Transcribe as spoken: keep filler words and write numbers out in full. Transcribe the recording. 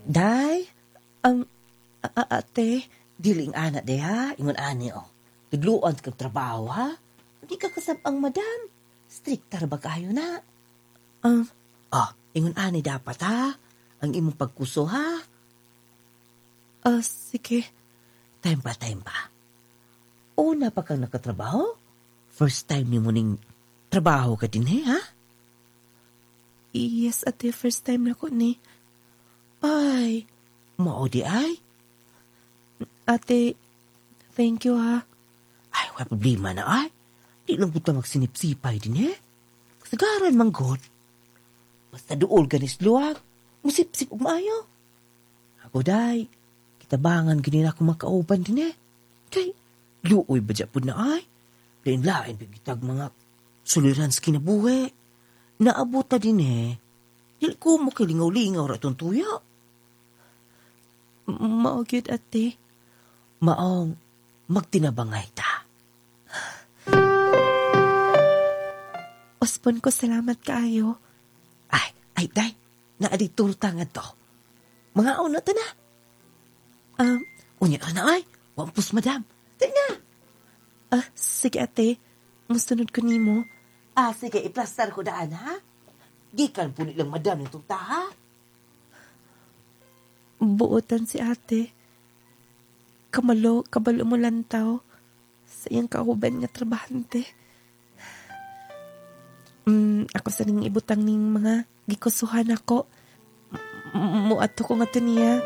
Day, Um, a- a- ate, dili ing ana day ha, ingon ani oh. Tudluan kag trabaho ha. Di ka kasab-ang madam. Strikta ra ba kayo na? um, Ah, ingon ani dapat ha. Ang imong pagkuso ha. ah, sige. Time pa, time pa. Una pa kang nakatrabaho? First time nimo ning trabaho ka din eh, ha? Yes, ate, first time na ko ni. Ay, mao di ay. Ate, thank you ha. Ay, wala problema na ay. Di lang puta magsinipsipay din eh. Kasagaran man god. Basta duol ganis luwag. Musipsip og maayo. Ako day, kitabangan gini na ako makauban din eh. Kay, luoy ba pud na ay? Lain-lain bigitag mga suliran sa kinabuhi. Naabot ta din eh. Dili ko mo kilingaw-lingaw ra itong tuyo. Mao gyud ate. Maong magtinabangay ta. Uspon ko salamat kaayo. Ay, ay, day. Naa di turta nga to. Mga una ta na. Um, Unya ka na ay. Wampus, madam. Day na. ah, sige ate. Musunod ko nimo. Ah, sige, iplastar ko daan, ha? Gikan po nilang madam ng turta, ha? Buotan si ate. Kamalo, kabalo mo lantaw sa iyang kauban nga trabahante. Mm, ako sa ning ibutang ning mga gikusuhan ako. Muadto ko nga to niya.